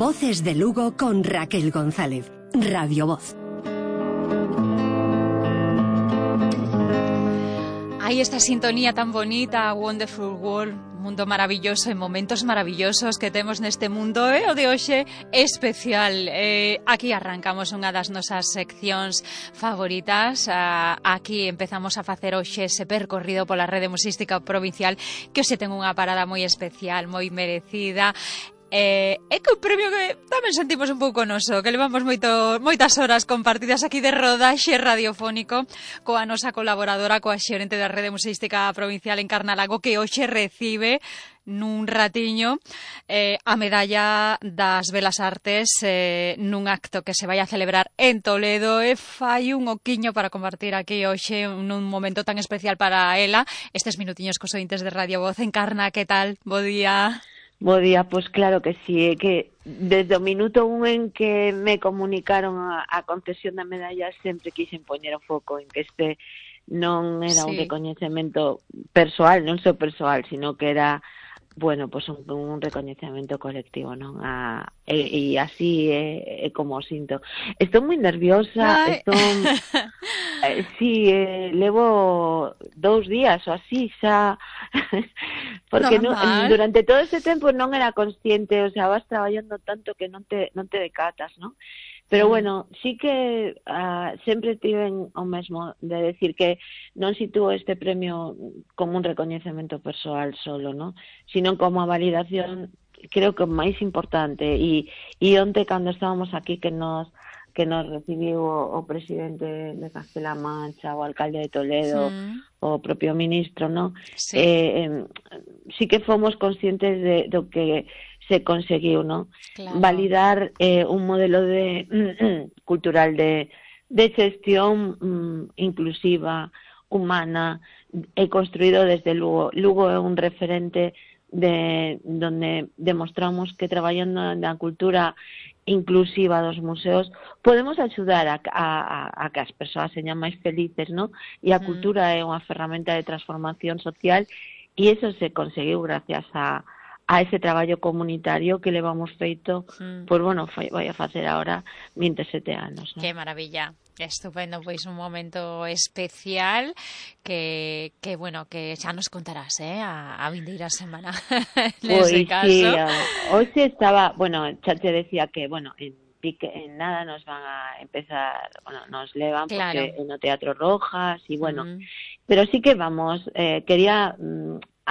Voces de Lugo con Raquel González. Radio Voz. Hay esta sintonía tan bonita, Wonderful World, mundo maravilloso, en momentos maravillosos que temos neste mundo, o de hoxe especial. Aquí arrancamos unha das nosas seccións favoritas. Aquí empezamos a facer hoxe ese percorrido pola rede musística provincial, que hoxe ten unha parada moi especial, moi merecida. É que un premio que tamén sentimos un pouco noso, que levamos moitas horas compartidas aquí de rodaxe radiofónico coa nosa colaboradora, coa xerente da Rede Museística Provincial en Carnalago, que hoxe recibe nun ratiño a medalla das Belas Artes nun acto que se vai a celebrar en Toledo, e fai un oquiño para compartir aquí hoxe nun momento tan especial para ela estes minutiños cos ointes de Radio Voz. Encarna, que tal? Bo día. Bo día, pois claro que sí, é que desde o minuto un en que me comunicaron a concesión da medalla sempre quixen poñer o foco en que este non era un recoñecemento persoal, non só persoal, sino que era, bueno, pues un recoñecemento colectivo, non? E así é como o sinto. Estou moi nerviosa, sí, levo 2 días ou así xa, porque durante todo ese tempo non era consciente, o sea, vas traballando tanto que non te decatas, non? Pero bueno, sí que sempre tiven o mesmo de decir que non sitúo este premio como un recoñecemento persoal solo, ¿no? Sino como a validación, creo que máis importante. E onte, cando estábamos aquí, que nos recibiu o presidente de Castela Mancha, o alcalde de Toledo, o propio ministro, ¿no? Sí que fomos conscientes do que se conseguiu, ¿no? Claro. Validar un modelo cultural de xestión inclusiva, humana, e construído desde Lugo. Lugo é un referente donde demostramos que traballando na cultura inclusiva dos museos podemos axudar a que as persoas señan máis felices, ¿no? E a cultura é unha ferramenta de transformación social, e eso se conseguiu gracias a ese traballo comunitario que levamos feito, pois, bueno, vai a facer agora 27 anos, ¿no? Que maravilla, que estupendo, pois un momento especial que bueno, que xa nos contarás, a vindeira semana nese caso. Sí, hoxe estaba, bueno, xa te decía que, bueno, en nada nos van a empezar, bueno, nos levan, claro, porque no Teatro Rojas, y bueno, pero sí que vamos, quería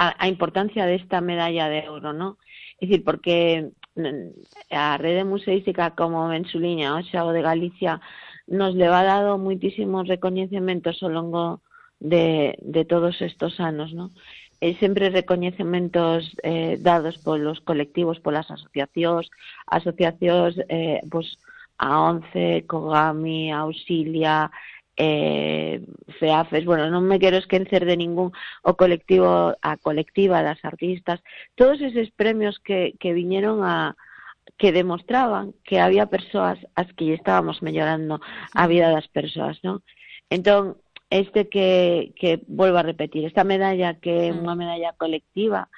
a importancia desta medalla de ouro, ¿no? É dicir, porque a Rede Museística como Mensuliña, o xa o de Galicia, nos leva dado moitísimos recoñecementos ao longo de todos estos anos, ¿no? E sempre recoñecementos dados polos colectivos, polas asociacións, pues, a ONCE, Cogami, Auxilia, FEAFES, bueno, non me quero esquecer de ningún, a colectiva das artistas, todos eses premios que viñeron que demostraban que había persoas as que estábamos mellorando a vida das persoas, ¿no? Entón, que volvo a repetir, esta medalla que é unha medalla colectiva,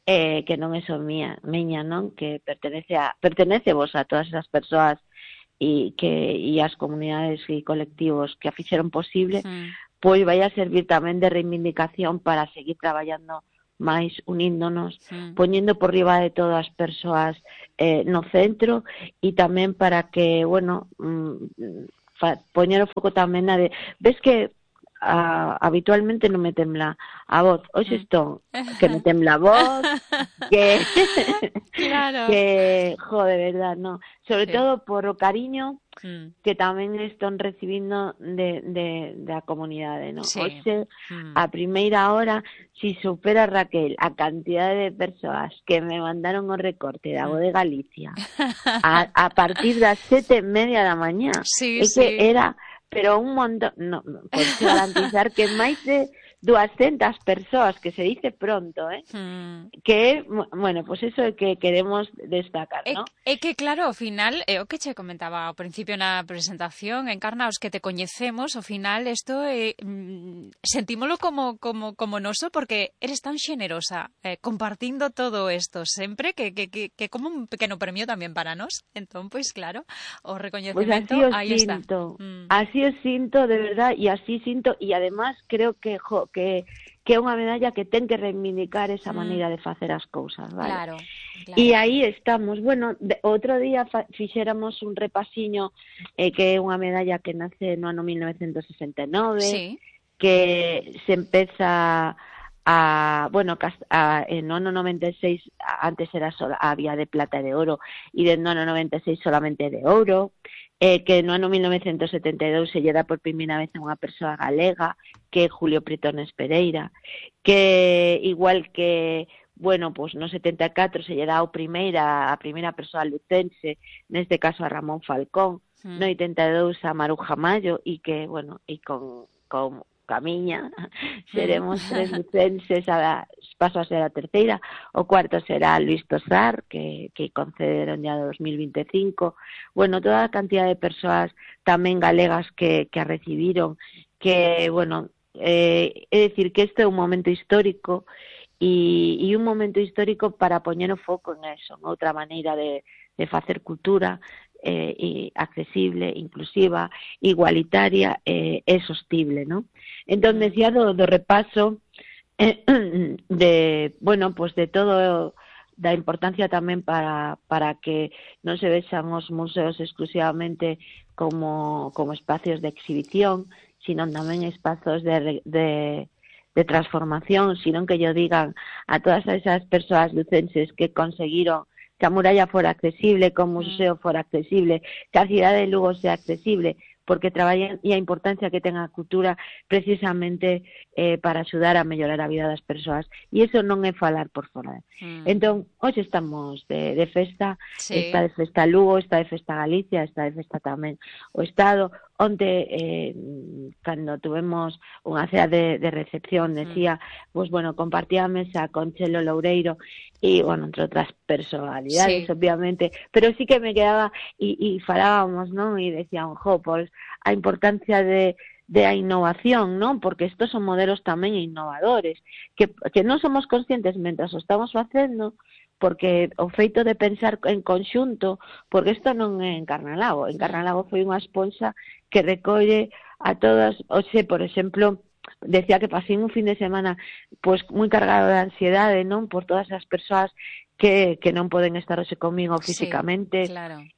que non é só miña, non? Que pertenece vos a todas esas persoas e as comunidades e colectivos que a fixeron posible, pois vai a servir tamén de reivindicación para seguir traballando máis, uníndonos, poñendo por riba de todas as persoas no centro, e tamén para que, bueno, poñer o foco tamén na de... Ves que habitualmente non me tembla a voz, hoxe estou que me tembla a voz, que claro, que de verdad, no, sobre todo por o cariño que tamén están recibindo da comunidade, no? Hoxe, a primeira hora, si supera, Raquel, a cantidade de persoas que me mandaron o recorte da Voz de Galicia a partir das 7:30 da mañá, que era... Pero un montón, no, podes garantizar que máis de 200 persoas, que se dice pronto, que, bueno, pues eso é que queremos destacar, non? É que, claro, ao final, o que che comentaba ao principio na presentación, Encarna, os que te coñecemos, ao final, isto sentímolo como noso, porque eres tan xenerosa, compartindo todo isto sempre, que como un pequeno premio tamén para nós. Entón, pois, claro, o recoñecemento, pues aí está. Así o sinto, de verdad, e así sinto, e además creo que é unha medalla que ten que reivindicar esa maneira de facer as cousas, vale? Claro. E aí estamos. Bueno, outro día fixéramos un repasiño que é unha medalla que nace no ano 1969, que se empeza no ano 96 antes era había de plata e de oro, e no ano 96 solamente de ouro, que no ano 1972 se lle dá por primeira vez a unha persoa galega, que é Julio Pretones Pereira, que igual que, bueno, pues no 74 se lle dá a primeira persoa lucense, neste caso a Ramón Falcón, no 82 a Maruja Mayo, e que, bueno, e con Camiña seremos 3 lucenses, paso a ser a terceira, o cuarto será Luis Tosar, que concederon ya 2025, bueno, toda a cantidad de persoas tamén galegas que a recibiron, que, bueno, é dicir que este é un momento histórico, e un momento histórico para poñer o foco en eso, en outra maneira de facer cultura, accesible, inclusiva, igualitaria e sostible, ¿no? Entón, decía do repaso de, bueno, pues de todo, da importancia tamén para que non se vexan os museos exclusivamente como espacios de exhibición, sino tamén espazos de transformación, sino que yo digan a todas esas persoas lucenses que conseguiron que a muralla fora accesible, que o museo fora accesible, que a cidade de Lugo sea accesible, porque traballan e a importancia que ten a cultura precisamente para axudar a mellorar a vida das persoas. E iso non é falar por fora. Entón, hoxe estamos de festa, está de festa Lugo, está de festa Galicia, está de festa tamén o Estado. Onte, cando tuvemos unha cea de recepción, decía, pues bueno, compartía a mesa con Chelo Loureiro e, bueno, entre outras personalidades, obviamente, pero sí que me quedaba e falábamos, non? E decían, pues a importancia de a innovación, non? Porque estos son modelos tamén innovadores, que non somos conscientes mentras o estamos facendo, porque o feito de pensar en conxunto, porque isto non é en Carnalago foi unha esponxa que recolle a todas, por exemplo, decía que pasei un fin de semana pues moi cargado de ansiedade, non? Por todas as persoas que non poden estar hoxe comigo físicamente,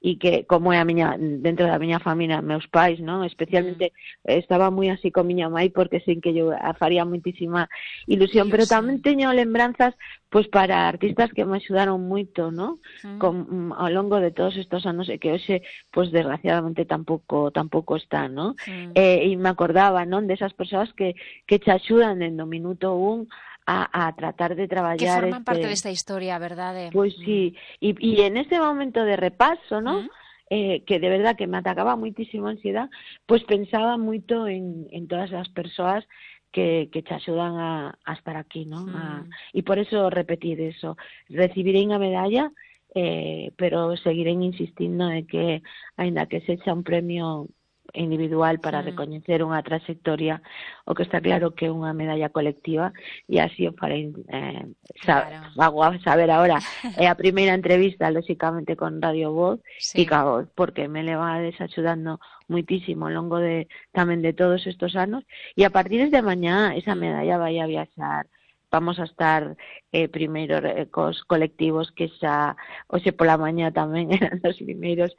e que, como é dentro da miña familia, meus pais, non? Especialmente estaba moi así con miña mãe, porque sin que yo faría moitísima ilusión, pero tamén teño lembranzas pues para artistas que me axudaron moito, non? Ao longo de todos estos anos, e que hoxe, pues desgraciadamente tampouco están, non? E me acordaba, non? Desas persoas que te axudan dende o minuto 1 a tratar de traballar, que forman parte desta historia, verdade? Pois sí, e en ese momento de repaso, ¿no? Que de verdad que me atacaba moitísimo a ansiedade, pois pensaba moito en todas as persoas que te axudan a estar aquí, ¿no? E por eso repetir eso, recibirei a medalla, pero seguirei insistindo de que, aínda que sexa un premio individual para recoñecer unha trayectoria, o que está claro que é unha medalla colectiva, e así o farei saber ahora. É a primeira entrevista, lóxicamente, con Radio Voz, e cago, porque me leva desaxudando moitísimo ao longo tamén de todos estos anos, e a partir de mañá esa medalla vai a viaxar. Vamos a estar primeiro cos colectivos que xa hoxe pola mañá tamén eran os primeiros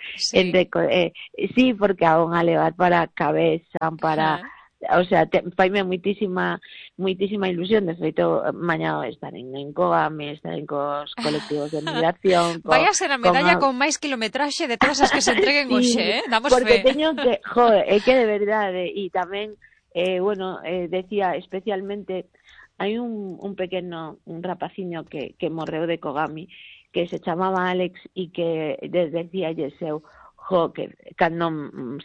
porque a van a levar para cabeza, para o sea, faime moitísima ilusión. De feito, mañá estarén en Cogame, estarén cos colectivos de migración. Vai a ser a medalla con máis kilometraxe de todas as que se entreguen hoxe, damos porque fe. Teño que, é que de verdade, e tamén, decía especialmente, hai un pequeno, un rapaciño que morreu de Kogami, que se chamaba Alex, e que decía eu, que cando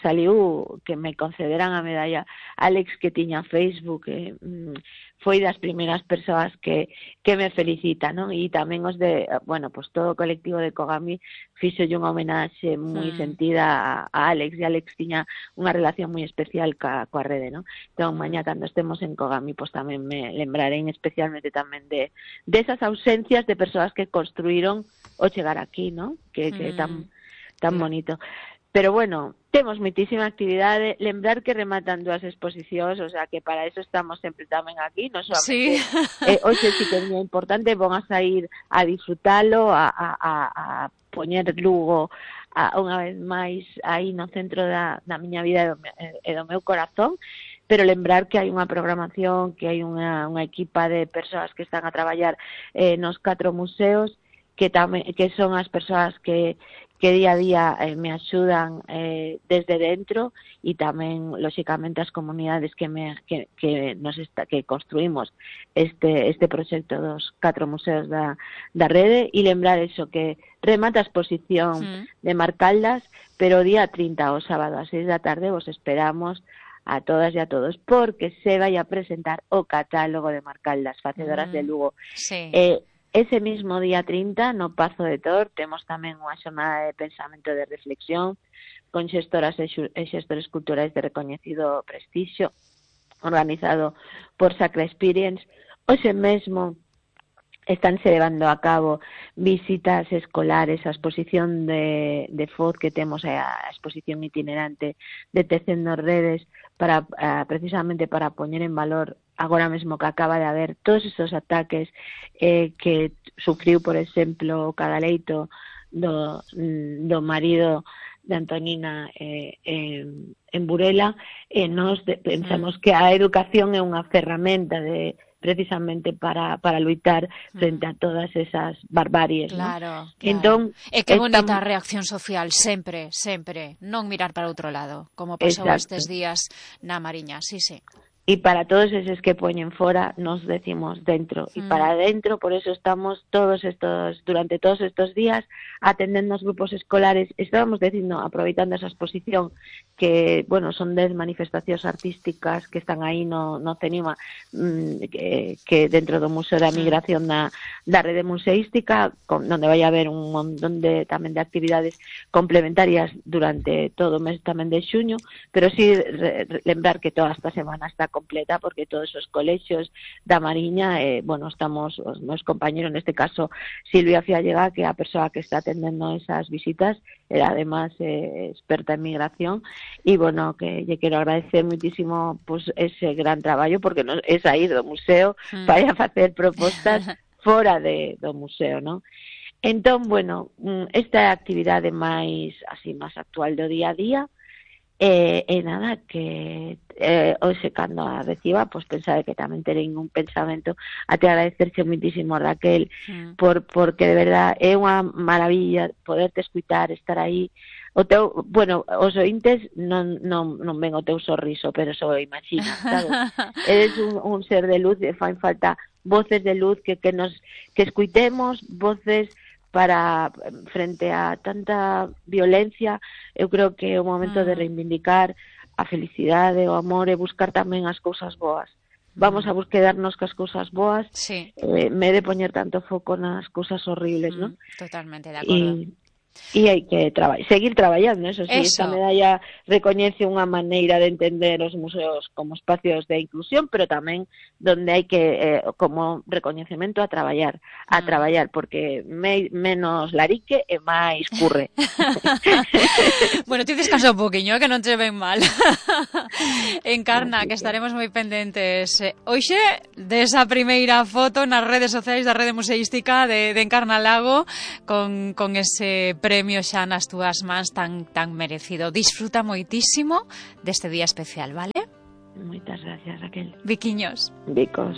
saliu que me concederan a medalla Alex, que tiña Facebook, foi das primeiras persoas que me felicitan, non? E tamén os de, bueno, pues todo o colectivo de Kogami fixolle unha homenaxe moi sentida a Alex, e Alex tiña unha relación moi especial coa rede, non? Entón, mañá, cando estemos en Kogami, pues tamén me lembrarei especialmente tamén de esas ausencias de persoas que construíron o chegar aquí, non? Que tan bonito. Pero bueno, temos moitísima actividade, lembrar que rematan 2 exposicións, o sea que para eso estamos sempre tamén aquí, non solamente hoxe sí que é moi importante, van a sair a disfrutalo, a poñer Lugo unha vez máis aí no centro da miña vida e do meu corazón, pero lembrar que hai unha programación, que hai unha equipa de persoas que están a traballar nos 4 museos, que son as persoas que día a día me axudan desde dentro, e tamén, lóxicamente, as comunidades que construímos este proxecto dos 4 museos da rede, e lembrar eso, que remata a exposición de Marcaldas, pero o día 30, o sábado, a 6 da tarde, vos esperamos a todas e a todos, porque se vai a presentar o catálogo de Marcaldas, facedoras de Lugo. Sí. Ese mismo día 30, no Pazo de Tor, temos tamén unha xornada de pensamento de reflexión con xestoras e xestores culturais de recoñecido prestixio, organizado por Sacra Experience. Hoxe mesmo estánse levando a cabo visitas escolares á exposición de Foz que temos, a exposición itinerante de Tecendo Redes, precisamente para poñer en valor agora mesmo que acaba de haber todos estes ataques que sufriu, por exemplo, o Cadaleito do marido de Antonina en Burela, e nos pensamos que a educación é unha ferramenta precisamente para luitar frente a todas esas barbaries. Claro, ¿no? Entón, e que bonita reacción social, sempre, non mirar para outro lado, como pasou estes días na Mariña, sí. E para todos eses que poñen fora, nos decimos dentro. E para dentro, por eso estamos durante todos estos días atendendo os grupos escolares. Estábamos dicindo, aproveitando esa exposición, que, bueno, son 10 manifestacións artísticas que están aí no CENIMA, que dentro do Museo da Migración da rede museística, onde vai haber un montón tamén de actividades complementarias durante todo o mes tamén de xuño, pero sí lembrar que toda esta semana está completa, porque todos os colexios da Mariña, estamos os meus compañeros, neste caso Silvia Fiallega, que é a persoa que está atendendo esas visitas, era además experta en migración, e que lle quero agradecer muitísimo ese gran traballo, porque é sair do museo para facer propostas fora do museo, non? Entón, esta actividade máis actual do día a día, nada, que hoxe cando a reciba, pensade que tamén terei un pensamento a te agradecerche muitísimo, Raquel, porque de verdad é unha maravilla poderte escutar, estar aí. Os ointes non ven o teu sorriso, pero só imagina, sabes? Eres un ser de luz, e fan falta voces de luz que escuitemos, voces para frente a tanta violencia. Eu creo que é o momento de reivindicar a felicidade, o amor, e buscar tamén as cousas boas. Vamos a quedarnos cas cousas boas, me de poñer tanto foco nas cousas horribles, non? Totalmente de acordo. E hai que seguir traballando, eso sí. Esta medalla recoñece unha maneira de entender os museos como espacios de inclusión, pero tamén donde hai que, como recoñecemento, a traballar, porque menos larique e máis curre. Bueno, ti descansa un poquinho, que non te ven mal. Encarna, que estaremos moi pendentes hoxe desa primeira foto nas redes sociais da Rede Museística de Encarna Lago, con ese premio xa nas túas mans tan merecido. Disfruta moitísimo deste día especial, vale? Moitas gracias, Raquel. Biquiños. Bicos.